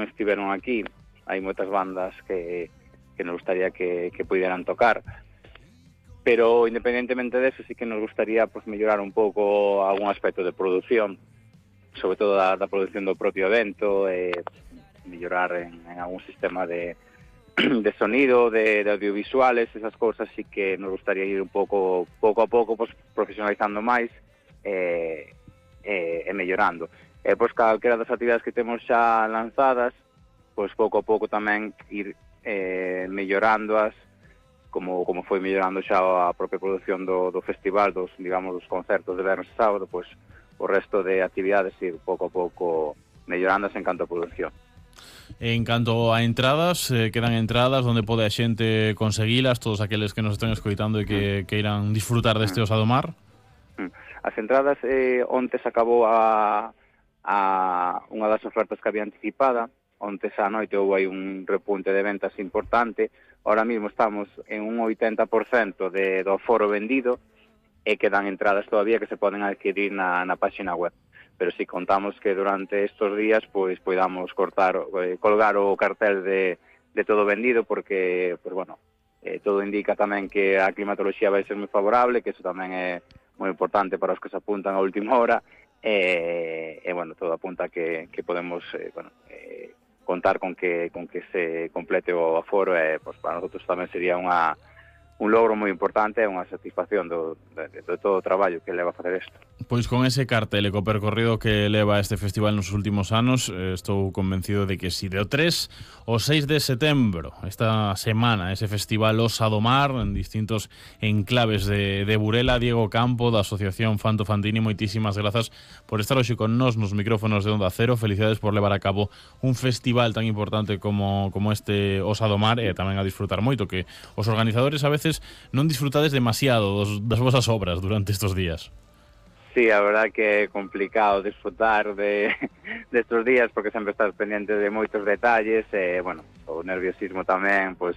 non estiveron aquí. Hai moitas bandas que nos gustaría que pudieran tocar, pero independentemente de eso sí que nos gustaría pues mellorar un pouco algún aspecto de produción, sobre todo da produción do propio evento, mellorar en algún sistema de sonido, de audiovisuales, esas cousas sí que nos gustaría ir un pouco a pouco pues, profesionalizando máis e mellorando. Pois calquera das actividades que temos xa lanzadas, pois pouco a pouco tamén ir mellorándoas, como foi mellorando xa a propia produción do festival, dos concertos de vernos e sábado, pois o resto de actividades ir pouco a pouco mellorándoas en canto a produción. En canto a entradas, quedan entradas onde pode a xente conseguilas, todos aqueles que nos estén escoitando e que queiran disfrutar deste Osa do Mar? As entradas, onte se acabou unha das ofertas que había anticipada, onte esa noite houve aí un repunte de ventas importante. Ahora mismo estamos en un 80% do aforo vendido e quedan entradas todavía que se poden adquirir na página web. Pero si contamos que durante estos días pois podamos colgar o cartel de todo vendido, porque pues bueno, todo indica tamén que a climatoloxía vai ser moi favorable, que eso tamén é moi importante para os que se apuntan a última hora, e bueno, todo apunta que podemos contar con que se complete o aforo, e pues para nosotros tamén sería un logro moi importante e unha satisfacción de todo o traballo que leva a facer isto. Pois con ese cartel e co percorrido que leva este festival nos últimos anos, estou convencido de que si do 3 ao 6 de setembro, esta semana, ese festival Osa do Mar en distintos enclaves de Burela. Diego Campo, da Asociación Fanto Fantini, moitísimas grazas por estar hoxe con nós nos micrófonos de Onda Cero. Felicidades por levar a cabo un festival tan importante como este Osa do Mar, e tamén a disfrutar moito, que os organizadores a veces non disfrutades demasiado das vosas obras durante estes días. Sí, a verdad que é complicado disfrutar de estos días, porque sempre estás pendiente de moitos detalles, e, bueno, o nerviosismo tamén, pues,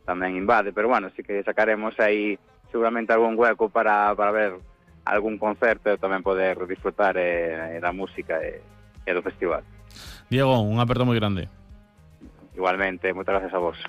tamén invade, pero, bueno, sí que sacaremos aí seguramente algún hueco para ver algún concerto e tamén poder disfrutar da música e do festival. Diego, un aperto moi grande. Igualmente, moitas gracias a vos.